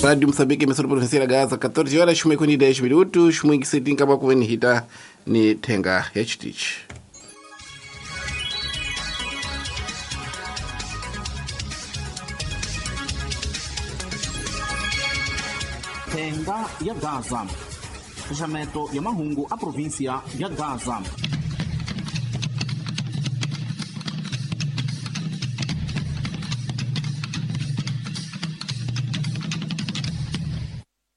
Rádio Moçambique, emissora provincial Gaza, 14 horas 10 minutos, mwingisetinka pakuvenihita ni thenga ya chitichi. Thenga ya Gaza. Xaxameto ya mahungu a província ya Gaza.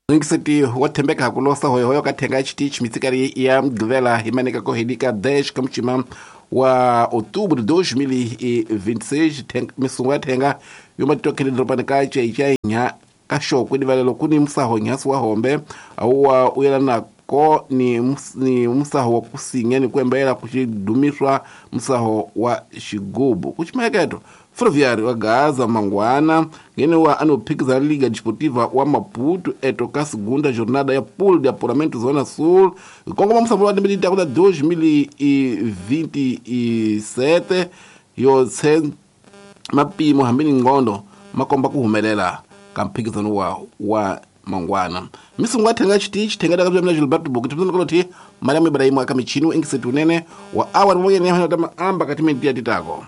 Mwingiseti wa thembeka hakulosa hoyohoyo ka thenga ya chitichi mitsikari ya mgvela himaneka kohedika 10 kamuchima wa outubro de 2026 misungu ya thenga yomatitokhele doropani ka chaichainya kaxokwe divalelo kuni musaho nyasi wa hombe awuwa uyelanako ni, ni musaho wa kusinya ni kuembela kuxidumiswa musaho wa xigubu kuximayeketo ferroviário wa Gaza mangwana ngene wa anophikizana Liga Desportiva wa Maputo eto ka segunda jornada ya pool de apuramento Zona Sul kongoma musambo wa 2027 2027 yo tse mapimo hambi ni ngondo makomba kuhumelela ka mphikizano wa mangwana misungu athenga chitichi thenga dakabza Gilberto Buki tipsana koloti Mariam Ibrahim akamichini engisetu unene wa awa pamoja ni hana tama amba katimenti ya titako.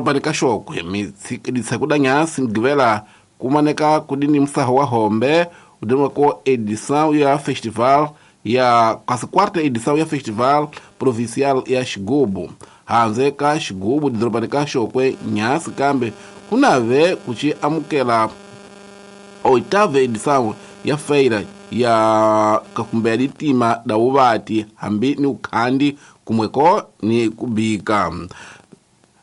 Pani kashokwe mitsikidisa nyasi mgivela kumaneka kudini msaho wa hombe udinwa ko edição ya festival ya quase quarta edição ya festival provincial ya Xigubu hanze ka Xigubu didorobani ka Xokwe nyasi kambe kunave kuchi amukela oitava edição ya feira ya kakumbe litima da uvati hambi ni ukhandi kumweko ni kubika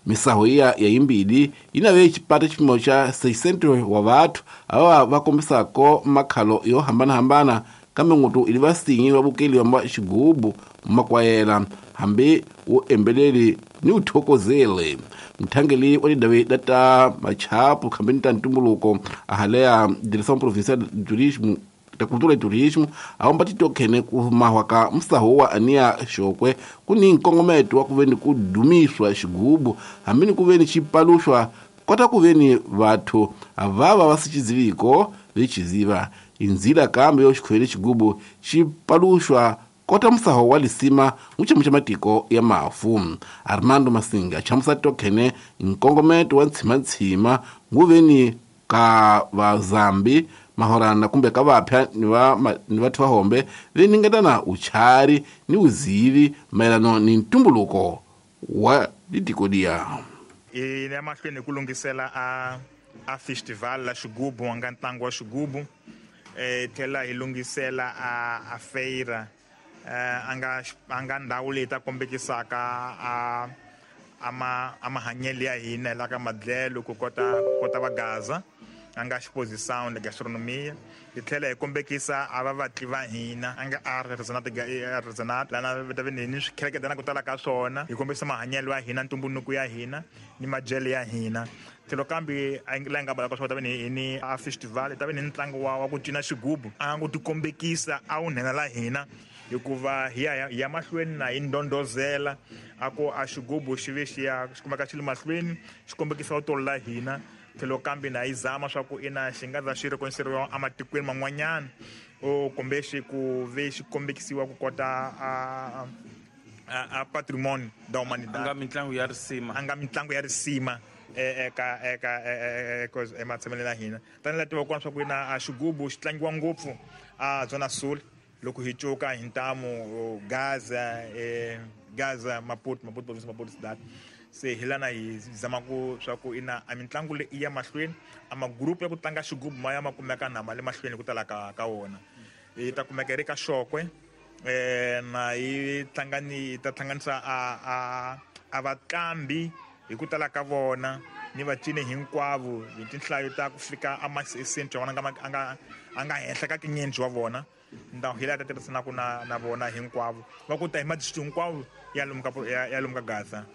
misaho iya ya imbidi inave chipata chipimo cha 600 wa vathu ava vakombisako makhalo yo hambana-hambana kambe ng'utu ili vasinyi vavukeli va xigubu makwayela hambi wu embeleli ni uthokozele mthangeli wa tidavi da ta machapu khambeni ta ntumbuluko ahaleya direção provincial de turismo ta cultura e turismo awomba titokhene ku mahwa ka musaho wa aniya xokwe kuni nkongometo wa kuveni ku dumiswa xigubu hambi ni kuveni xipaluxwa kota kuveni vathu avava va sichiziviko vechiziva inzila kambe yo xikhwele xigubu xipaluxwa kota musaho wa lisima muchemu cha matiko ya mafu Armando Masinga chamusa tokhene nkongometo wa ntshima-ntshima nguveni ka vazambi mahorana kumbe ka vapya ni vathu va hombe veningetana uchari ni uzivi mayelano ni ntumbuluko wa litiko liya hi le mahlweni ku lunghisela a festival la xigubu a nga ntlangu wa xigubu tlhela hi lunghisela a feira a nga ndhawu leyi ta kombekisaka a mahanyelo ya hina la ka madlelo ku kota va Gaza a nga exposição de gastronomia hi tlhela hi kombekisa a va vatli va hina a nga artisanat lana ta ni swikheleketana ku tala ka swona hi kombisa mahanyelo ya hina ntumbuluko ya hina ni madyelo ya hina tlhelo kambe la hi nga balaka swona ta ve ni ni a festival ta ve ni ntlangu wa ku cina xigubu a nga ku tikombekisa a wu nhenha la hina hikuva hi ya mahlweni na hi ndondozela a ku a xigubu xi ve xi ya xi kumeka xi le mahlweni xi kombekisa vutolo la hina tlhelo kambe na yi zama swa ku ina xi nga za xi rekonisiwa ematikweni man'wanyana o kumbe xi ku ve xi kombekisiwa ku kota a patrimoine da humanidade anga mitlangu ya risima anga mitlangu ya risima eka eka ematshameleni ya hina tanihi la tiva kona swa ku ina a xigubu xi tlangiwa ngopfu a Zona Sul loko hi cuka hi ntamu Gaza Gaza Maputo Maputo province Maputo cidade se hi lana hi zama ku swa ku ina a mitlangu leyi ya mahlweni a magrupu ya ku tlanga xigubu ma ya ma kumeka na ma le mahlweni ku tala ka wona yi ta kumeka ri ka Xokwe na yi tlangani ta hlanganisa a vatlambi hi ku tala ka vona ni vacini hinkwavo hi tinhlayo ta ku fika a ma-cent wa vona a nga henhla ka tinyendzi wa vona ndhawu hi laha ta tirhisanaka na vona hinkwavo va ku ta hi madistrict hinkwavo ya lomu ka ya lomu ka Gaza.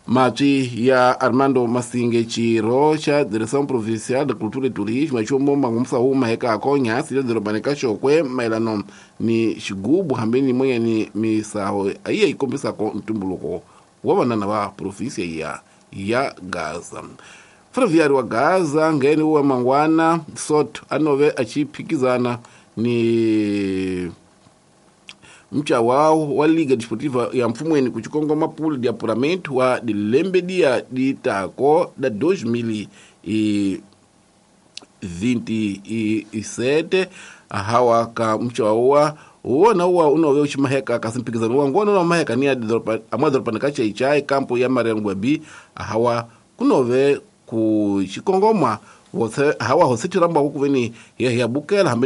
Matwi ya Armando Masinge, xirho xa Direção Provincial de Cultura e Turismo, chumo mangumsa huma hekako nyasi le dorobani ka Xokwe mayelano ni xigubu hambi ni moyeni misaho ayiye yi kombisako ntumbuluko wa vanana va provinsia ya Gaza. Ferroviário wa Gaza ngheni wa mangwana Soto anove achi phikizana ni mchawawo wa Liga Desportiva ya Mfumweni kuchikongoma pool de apuramento wa dilembe dia ditako da 2027 hawa ka mchawawa wona uwa unove uchimaheka kasi mphikizano wa ngona unamaheka ni amwadoropa ka chaichai kampo ya Mariano Gwabi hawa kunove kuchikongoma hawa hosithirambwako kuveni hiya bukela hambi.